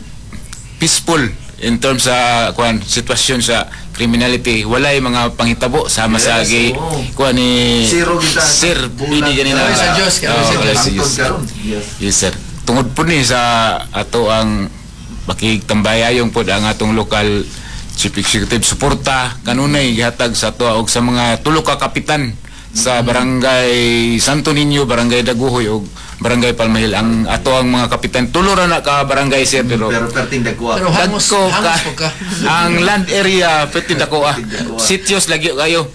peaceful in terms sa kuan sitwasyon sa criminality. Walay mga panghitabo sama sa Yes, gi oo. kuan ni Zero kita. Sir Bulan. Pidi ganina. Kalaway sa Diyos, kalaway sa Oo, Diyos. kalaway sa Diyos. Hangtod karon. Yes. Yes, sir. Tungod po ni sa ato ang pakigtambayayong pod ang atong local chief executive, suporta kanunay gihatag sa ato og sa mga tulo ka kapitan sa Barangay Santo Niño, Barangay Daguhoy ug Barangay Palmahil. Ang ato ang mga kapitan, tulo ra na ka barangay, sir, pero Pero perting dagko. Pero hangos, dagko hangos ka, po ka. Ang land area pwede dako ah. Perting dako, ah. Sitios lagi kayo.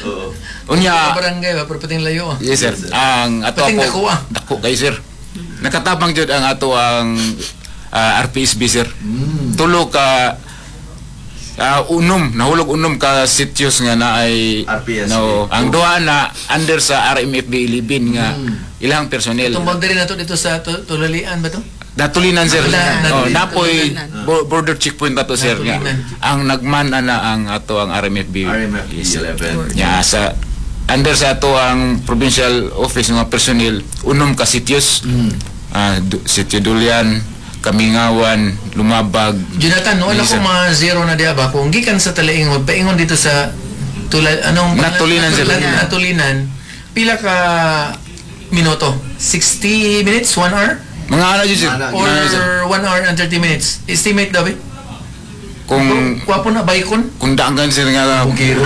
Oo. Unya. Barangay ba, pero pating layo, ah. Yes, sir. Ang ato Pating po, dako, ah. dako kay sir. Nakatabang jud ang ato ang RPSB, sir. Tulo ka unom, nahulog unom ka sitios nga na ay RPSB. No, ang duha na under sa RMFB 11 nga ilang personnel. Itong boundary na to dito sa Tulalian ba to? Natulinan, sir. Natulinan. Oh, napoy Natulinan. border checkpoint na to, sir, nga. Natulinan. Ang nagman ana ang ato ang RMFB. RMFB Yes, sir. 11. Ya, sa under sa ato ang provincial office nga personnel, unom ka sitios. Sitio Dulian, Kamingawan, Lumabag. Jonathan, wala Yes, ko sir. mga zero na diya ba? Kung gikan sa Talaingod, paingon dito sa Tula, anong Natulinan, sir. Natulinan. Pila ka minuto? 60 minutes? 1 hour? Mga ano yun, sir? Mga Or Mga ano, sir? 1 hour and 30 minutes? Estimate daw eh. Kung Kwapo na, bicon? kung daan sir nga Bugiro.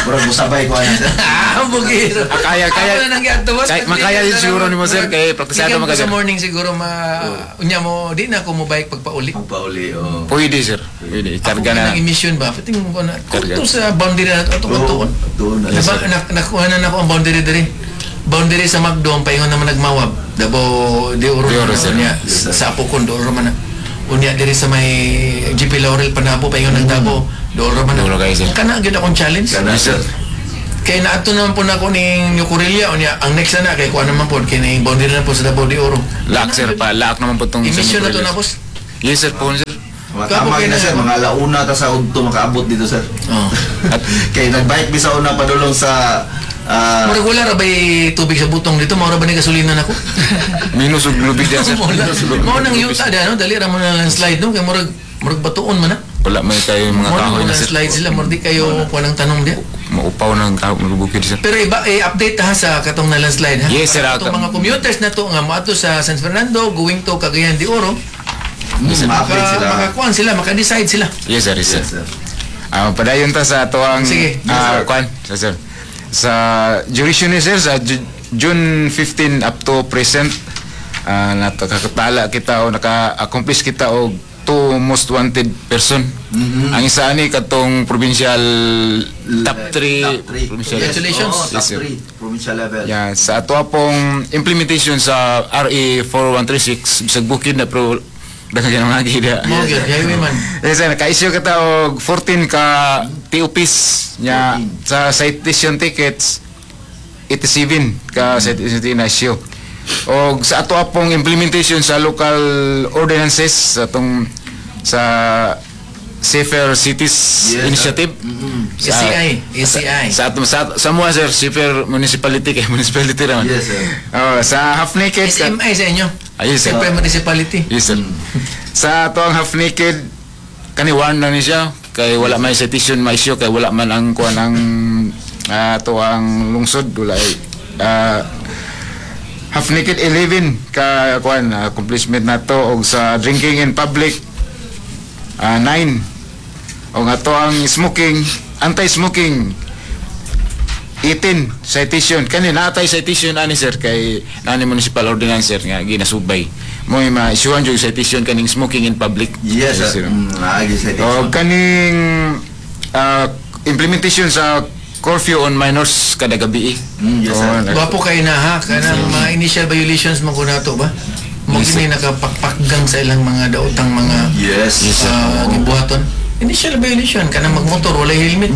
Murag musabay ko ana, sir. Ah, bugiro. Ah, kaya- Ako na nang giadto, boss. makaya yun siguro nimo, sir, kay praktisado Gikan man ko ka, sa sir. morning siguro ma unya mo di na ako mo bike pagpauli. Pauli, oh. Pwede, sir. Pwede. Ako Karga na. ng emission ba? Tingin ko na. Karga. Kuto sa boundary na ito. Ato Oo, tuon na. Diba, nakuha na nako ang boundary diri. Boundary sa Macdo, ang paingon naman nagmawab. Davao de Oro. De Oro, sir. Niya, Yes, sir. sa Apokon, de Oro man na. Unya diri sa may GP Laurel Panabo paingon ng Davao. Dool ra man na. Dool ra kayo, sir. Kana gyud akong challenge. Kana, Yes, sir. Kay naadto naman po na ako ning New Corella unya ang next na na kay kuan naman po kini boundary na po sa Davao de Oro. Laak, sir, pa laak naman po tong Emission na to na, boss. Yes, sir, po, sir. Mga tama Kapo na, sir, kayo na- mga alauna ta sa udto makaabot dito, sir. Oh. At Kay nagbike mi sa una padulong sa Murag wala ra bay tubig sa butong dito, mao ra ba ni gasolina nako? Minus ug lubid yan, sir. Mao nang yuta da no, dali ra mo na landslide no kay murag batuon man na. Wala may kayo mga Mao kahoy nang na, sir. landslide sila, murag di kayo kuan ang tanong diya. Maupaw ng kahoy ng bukid, sir. Pero iba eh, update ha sa katong na landslide ha. Yes, sir. Para atong mga commuters na to nga moadto sa San Fernando going to Cagayan de Oro, ma-update sila. Makakuan sila, maka-decide sila. Yes, sir, yes, sir. Yes, sir. Padayon ta sa atoang Sige. Kuan, sa sir. Sa duration ni sir sa June 15 up to present, nakakatala kita o naka-accomplish kita og two most wanted person. Ang isa ani katong provincial top 3. Top 3. Provincial. Congratulations. Oh, top Yes, sir. 3 provincial level. Yeah, sa ato pong implementation sa RA 4136 bisag bukid na pero daghan kay mga gida. Mao gyud, highway man. Yes, sir, naka-issue kita og 14 ka TOPs nya 14. sa citation tickets 87 ka citation ticket na issue. Og sa ato pong implementation sa local ordinances sa atong sa Safer Cities Yes, sir. Initiative. SCI, SCI. Sa ato sa mua, sir, Safer Municipality kay municipality ra man. Yes, sir. Oh, sa half naked SMI sa inyo. Ay, yes, sir. Siyempre municipality. Yes, sir. Sa ato ang half naked kani warn lang ni siya kay wala may citation ma-issue kay wala man ang kuan ang ato ang lungsod wala ay half naked 11 ka kuan accomplishment nato og sa drinking in public 9 og ato ang smoking, anti-smoking, 18 citation. Kani naatay citation ani, sir, kay nani municipal ordinance, sir, nga ginasubay mo ma-issuehan jud citation kaning smoking in public. Yes, sir. Naagi citation. O kaning implementation sa curfew on minors kada gabi. Yes, sir. Oo, Gwapo kay na ha, kanang mga initial violations mo ko nato ba? Mo Yes, sir. gini nakapakpakgang sa ilang mga daotang mga Yes. Yes, sir. Gibuhaton. Initial violation kanang magmotor walay helmet.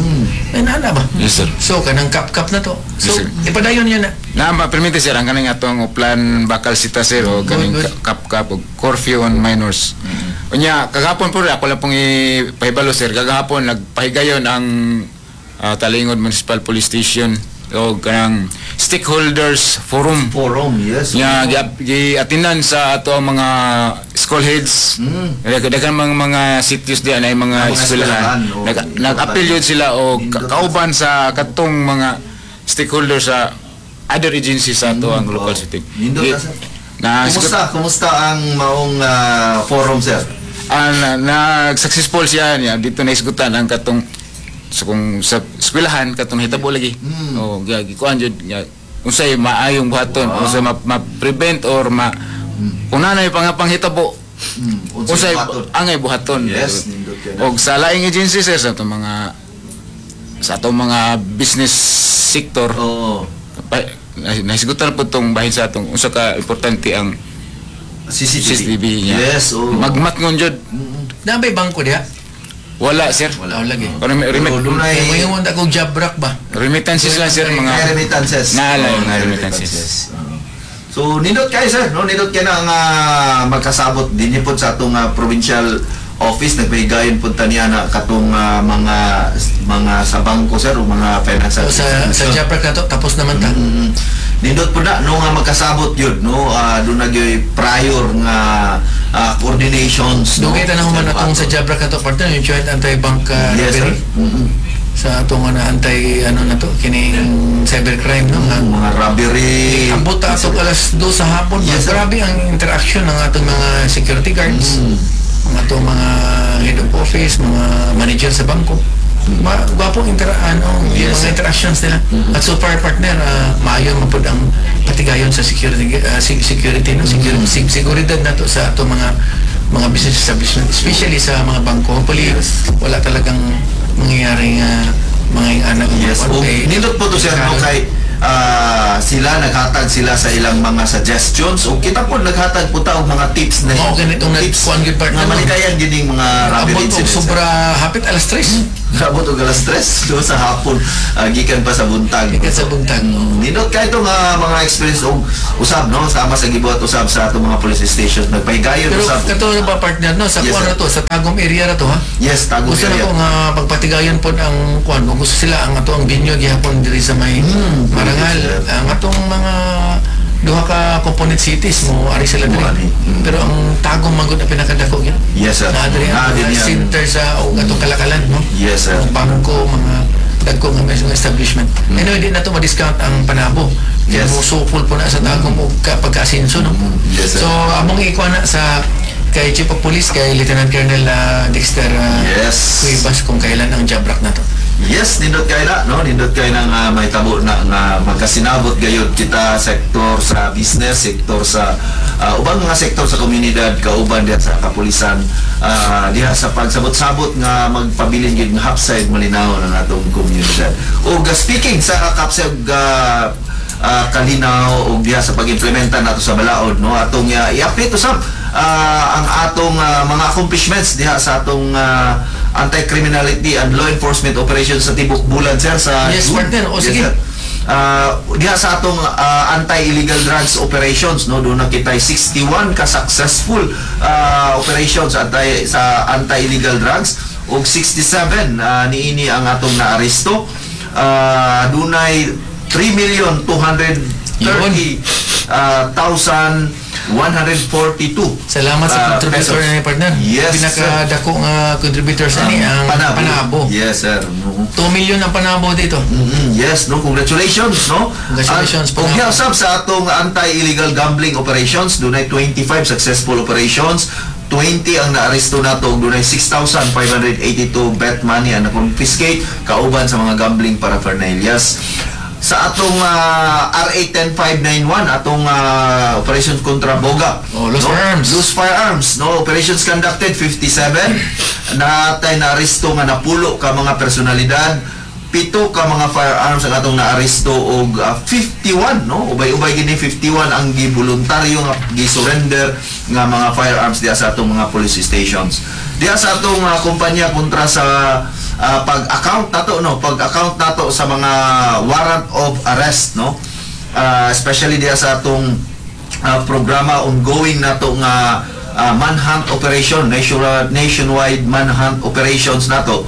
Ay nana ba? Yes, sir. So kanang kap-kap na to. So Yes, sir. ipadayon niya na. Na ma-permite, sir, ang kaning atong Oplan Bakal Sita, sir, o kaning Good, good. kap-kap o curfew on minors. Unya kagahapon po ako lang pong ipahibalo, sir, kagahapon nagpahigayon ang Talaingod Municipal Police Station o kanang stakeholders forum. Forum, yes. Nga giatinan sa ato ang mga school heads. Daghan mga cities diyan ay mga Ah, mga eskwelahan. eskwelahan, oh, Nag-appeal yun sila o Nindot. kauban sa katong mga stakeholders sa other agencies sa ato ang local city. Nindot na, sir. Na Kumusta ang maong forum, sir? Ah, na, nag-successful siya niya dito na isgutan ang katong sa kung sa eskwelahan katong hitabo lagi. Oh, gikuan jud nga unsay maayong buhaton, unsay ma-prevent or ma kung nanay panghitabo, Unsay unsay buhaton? angay buhaton. Yes, nindot kay na. Og sa laing agency, sir, sa atong mga business sector, pa, nahisgutan po tong bahin sa atong unsa ka importante ang CCTV. CCTV niya. Yes, oh. Magmatngon jud. Na may bangko diha? Wala, sir. Wala lagi. Pero Pero dunay Kay mo yung akong job rack ba? Remittances lang, sir, mga Mga remittances. Naala Oo, yung mga remittances. Oo. So nindot kayo, sir, no? Nindot kayo na nga magkasabot din po sa atong provincial office nagpahigayon pud ta niya na katong mga sa bangko, sir, o mga financial So, sa institution. job rack na to tapos naman ta. Nindot po na no nga magkasabot yun no, doon na gyud prior nga coordinations, no. Dugay ta na human atong sa job rack na to partner yung joint anti-bank Yes, sir. robbery sa atong ano, anti ano na to kining cybercrime no. Mga robbery. Ambot ta atong alas 2 sa hapon. Yes, sir. Grabe ang interaction ng atong mga security guards, ang atong mga head of office, mga manager sa bangko. Gwapong ano, yung Yes, mga sir. interactions nila. At so far, partner, maayo man pud ang patigayon sa security security no, security, seguridad nato sa atong mga business establishment, especially sa mga bangko. Hopefully, wala talagang mangyayaring mga anak Yes. O, nindot po to, sir, no, kay Sila naghatag sila sa ilang mga suggestions ug kita po naghatag po ta og mga tips na Mao ganitong tips nagkuan gyud, partner, nga no? malikayan gining mga robbery Abot og incidents. sobra hapit alas 3. Abot og alas 3, no, sa hapon, gikan pa sa buntag. Gikan sa buntag, no. Nindot kay ito nga mga experience og usab, no, sama sa gibuhat usab sa atong mga police station, nagpahigayon Pero usab. kato na ba, partner, no, sa Yes, kuan sir. ra to, sa Tagum area ra to, ha. Yes, Tagum Gusto na area. ko nga pagpatigayon pod ang kuan kung gusto sila ang ato ang venue gihapon diri sa may Marangal, sir. Ang atong mga duha ka component cities mo ari sila diri. Mo ari. Pero ang Tagum man gud ang pinakadako gyud. Yes, sir. Naa diri ang Naa mga din yan. center sa o atong kalakalan, no. Yes, sir. Ang bangko, mga dagko nga mga establishment. Anyway, di na to ma-discount ang Panabo. Yes. Mo sukol po na sa Tagum og pagka-asenso, no. Yes, sir. So among ikuha na sa kay Chief of Police, kay Lieutenant Colonel Dexter Cuevas kung kailan ang job rack na to. Yes, nindot kay na, no? Nindot kay na nga may tabo na nga magkasinabot gayud kita, sektor sa business, sektor sa ubang mga sektor sa komunidad kauban diha sa kapulisan, diha sa pagsabot-sabot nga magpabilin gyud nga hapsay malinaw ng atong komunidad. Ug speaking sa hapsay ug kalinaw ug diha sa pag-implementa nato sa balaod, no, atong i-update usab ang atong mga accomplishments diha sa atong anti-criminality and law enforcement operations sa tibok bulan, sir, sa Yes, June. partner. O, Yes, sige. sir. Diha sa atong anti-illegal drugs operations, no, doon na kita 61 ka successful operations anti sa anti-illegal drugs ug 67 niini ang atong naaresto. Dunay 3,230 1,142 Salamat sa contributor pesos. na ni, partner. Yes, sir. Pinakadako nga contributor sa ni ang Panabo. Panabo. Yes, sir. No. 2 million ang Panabo dito. Yes, no, congratulations, no? Congratulations, Ug Panabo. usab sa atong anti-illegal gambling operations, dunay 25 successful operations, 20 ang naaresto nato ug dunay 6,582 bet money ang na-confiscate kauban sa mga gambling paraphernalias. Sa atong RA 10591, atong operations kontra Boga. Oh, loose no? firearms. Loose firearms, no? Operations conducted 57. Natay naaresto nga napulo ka mga personalidad, 7 ka mga firearms ang atong naaresto og 51, no, ubay-ubay gini 51 ang giboluntaryo nga gi-surrender nga mga firearms diha sa atong mga police stations. Diha sa atong kumpanya kontra sa pag-account nato, no, pag-account nato sa mga warrant of arrest, no, especially diha sa atong programa ongoing nato nga manhunt operation, nationwide manhunt operations nato,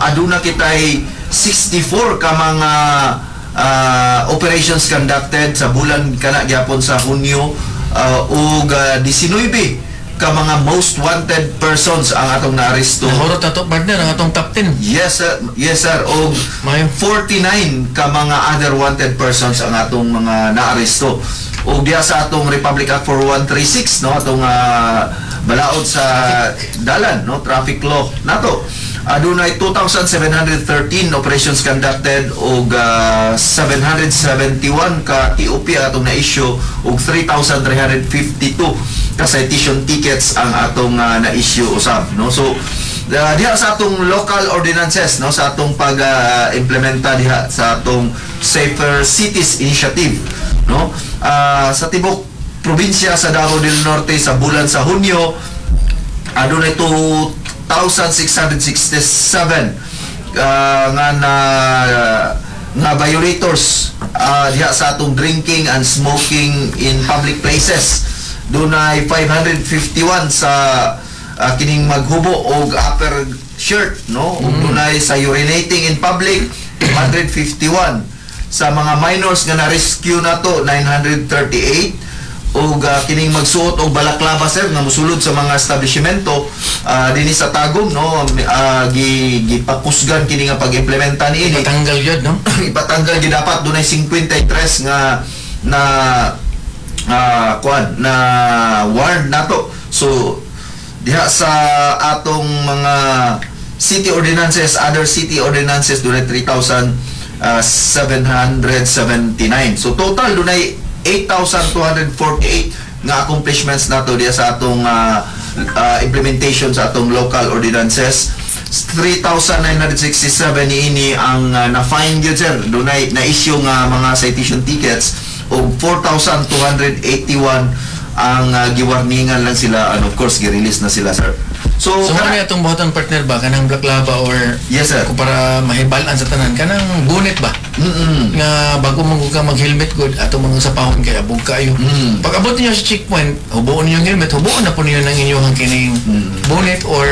aduna kitay 64 ka mga operations conducted sa bulan kana gyapon sa Hunyo, ug 19 ka mga most wanted persons ang atong naaresto. Nahurot na to, partner, ang atong top 10. Yes, sir. Yes, sir. Og Mayo. 49 ka mga other wanted persons ang atong mga naaresto. Og diha sa atong Republic Act 4136, no, atong balaod sa dalan, no, traffic law nato. Adunay 2,713 operations conducted og 771 ka TOP ang atong na-issue og 3,352 ka citation tickets ang atong na-issue usab, no. So diha sa atong local ordinances, no, sa atong pag-implementa diha sa atong Safer Cities Initiative, no, sa tibok probinsya sa Davao del Norte sa bulan sa Hunyo, adunay 2,667 nga na nga violators diha sa atong drinking and smoking in public places. Dunay 551 sa kining maghubo og upper shirt, no, ug dunay sa urinating in public 251. Sa mga minors nga na-rescue nato, 938. Ug kining magsuot og balaklava, sir, nga mosulod sa mga establishmento dinhi sa Tagum, no, gi gipakusgan kini nga pag-implementa niini. Patanggal yun, no? Ipatanggal gyud dapat. Dunay 53 nga na kuan na warn nato. So diha sa atong mga city ordinances, other city ordinances, dunay 3,779. So total dunay 8,248 nga accomplishments nato diha sa atong implementation sa atong local ordinances. 3,967 niini ang na-fine gyud, sir. Dunay na-issue nga mga citation tickets og 4,281 ang giwarningan lang sila and of course gi-release na sila, sir. So, So, mao na atong buhaton, partner, ba, kanang Black Laba or Yes, sir. kung para mahibal-an sa tanan kanang bunit ba nga bago man ka mag-helmet gud, ato mga sa pahon kay abog kayo. Pag abot niyo sa checkpoint, hubuon niyo ang helmet, hubuon na po niyo ng inyong kining bonnet or